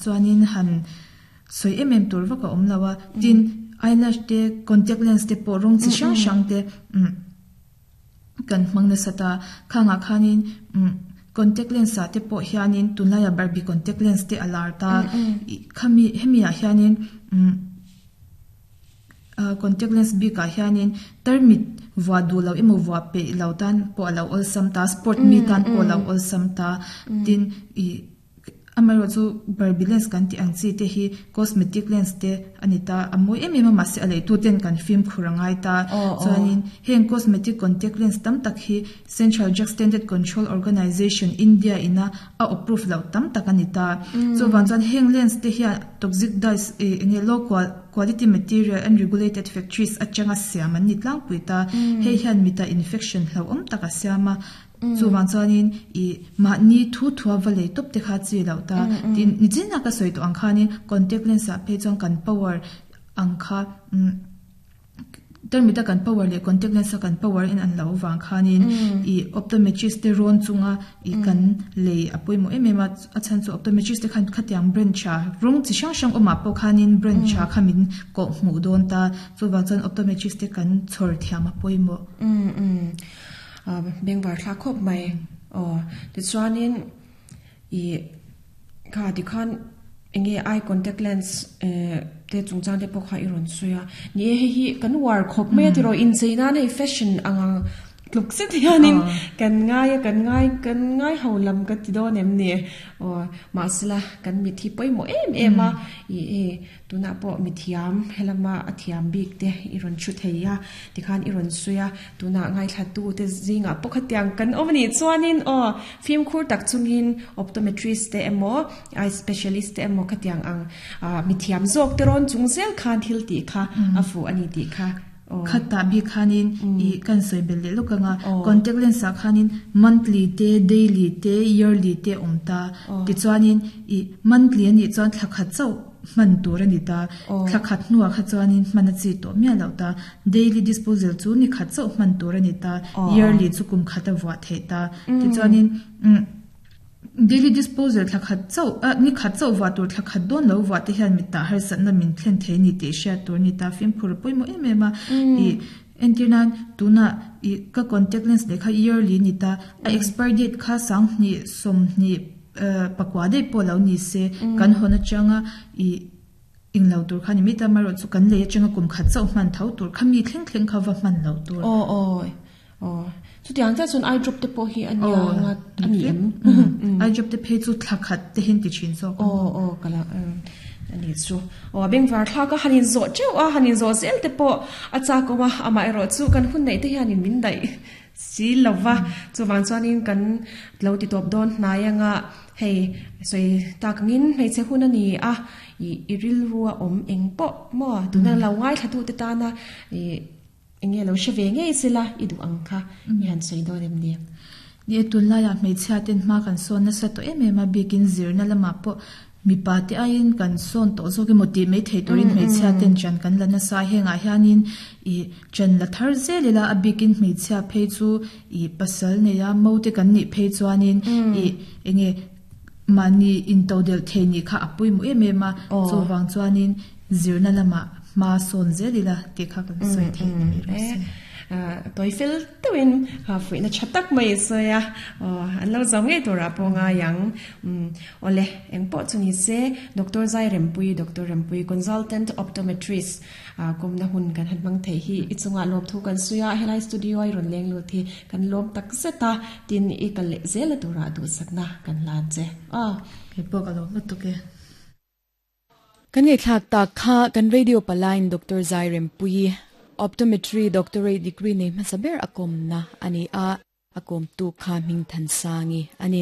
Chuanin han sawi em em tur vak a awm lo a. Tin, eyelash te, contact lens te pawh rawng chi hrang hrang te umm kan hmang nasa ta. Khangah khanin umm contact lens ah te pawh hianin tunlaiah Barbie contact lens te a lar ta. Ih khami hemi ah hianin umm Contact lens bikah hianin tarmit vuah duh loh emaw vuah peih lo tan pawh a lo awlsam ta, sport mi tan pawh a lo awlsam ta. Tin, ih amaherawhchu Barbie lens kan tih ang chi te hi cosmetic lens te a ni ta. A mawi em em a, mahse a leitu ten kan fimkhur a ngai ta. Chuanin heng cosmetic contact lens tam tak hi Central Drug Standard Control Organisation, India ina a approve loh tam tak a ni ta. Chuvang chuan heng lens te hian toxic dyes ih eng nge low quality material and regulated factories atanga siam an ni tlangpui ta. Hei hian mita infection hlauhawm tak a siam a. Chuvang chuanin ih mahni thu thua va lei tawp te kha chi loh ta. Tin, nichin a ka sawi tawh ang khanin contact lens ah phei chuan kan power ang kha umm. Termita kan power leh contact lens a kan power in an lo vang khanin ih optometrist te rawn chunga ih kan lei a pawimawh em em a, a chhan chu optometrist te khan khatiang brand tha rawng chi hrang hrang awmah pawh khanin brand tha kha min kawh hmuh dawn ta, chuvang chuan optometrist te kan chhawr thiam a pawimawh. Umm umm bengvar thlak khawp mai aw tichuanin ih kha tikhan Enge eye contact lens te chungchang te pawh kha i rawn sawi a. Ni e hei hi kan uar khawp mai a tiraw inchei nan hei fashion ang ang tluk zet hianin kan ngai a kan ngai kan ngai ho lam ka ti dawn em ni? Aw mahsela kan mit hi pawimawh em em a ih hei tunah pawh mithiam helama a thiam bik te i rawn thu thei a tikhan i rawn sawi a tunah ngaithla tu te zingah pawh khatiang kan awm a nih chuanin aw fimkhur tak chungin optometrist te emaw Eye specialist te emaw khatiang ang mithiam zawk te rawn chung zel khan thil tih kha a fuh a ni tih kha aw. Khatah bik khanin ih kan sawi belh leh lawk ang a, contact lens ah khanin monthly te, daily te, yearly te a awm ta. Tichuanin ih monthly a nih chuan thla khat chauh hman tur a ni ta, thla khat hnuah kha chuanin hman a chi tawh miah loh ta. Daily disposal chu ni khat chauh hman tur a ni ta, yearly chu kum khat a vuah theih ta. Tichuanin umm. Daily disposal thla khat chauh a ni khat chauh vuah tur thla khat dawn lo vuah te hian mit tah harsatna min thlen thei ni tih hriat tur a ni ta fimkhur a pawimawh em em a ih entir nan tunah ih ka contact lens leh kha yearly ni ta a expire date kha sanghnih sawmhnih pakua daih pawh lo ni se kan hawn atanga ih englo tur kha ni mai ta amaherawh chu kan lei atanga kum khat chauh hman tho tur kha mi thleng thleng kha va hman lo tur. Aw aw Aw, chutiang chiah chuan eye drop te pawh hi a nia nga a ni em? Eye drop te phei chu thla khat te hian ti thin zawk ang. Aw aw ka la a ni chu. Aw a bengvar thlak a han inzawh teuh a, han inzawh zel te pawh a chak awm a, amaherawh chu kan hun neih te hianin min daih si lo va, chuvang chuanin kan lo ti tawp dawn hnai anga hei sawi tak angin hmeichhe hun a ni a, ih i rilru a awm eng pawh maw tuna lo ngaithlatute tana ih Eng nge lo hre ve ngei sela i duh ang kha i han sawi dawn em ni? Ni e, tunlaiah hmeichhia ten hma kan sawn nasa tawh em em a, bikin zirna lamah pawh mipa te aiin kan sawn tawh zawk emaw tih mai thei turin hmeichhia ten ṭan kan la nasa a, hengah hianin ih ṭan la thar zel ila a bikin hmeichhia phei chu ih pasal neia mo te kan nih phei chuanin ih eng nge mahni intodelh thei nih kha a pawimawh em em a, chuvang chuanin zirna lamah hma sawn zel ila tih kha kan sawi theih ni mai rawh se. Tawi fel deuhin fuihna tha tak mai i sawi a, an lo zo ngei turah pawh ngai ang. Awle, eng pawh chu ni se, Doctor Zai Rempui, Doctor Rempui, Consultant Optometrist, kawmna hun kan han hmang thei hi i chungah lawmthu kan sawi a, helai studio a i rawn leng lut hi kan lawm tak zet a, tin i kal leh zel a turah duhsakna kan hlan che. Aw. Kei pawh ka lawm lutuk e. Kan ngaihthlak tak kha kan radio palain Doctor Zai Rempuii, Optometry Doctorate degree nei hmasa ber a kawmna a ni a, a kawmtu kha Hmingthansangi a ni.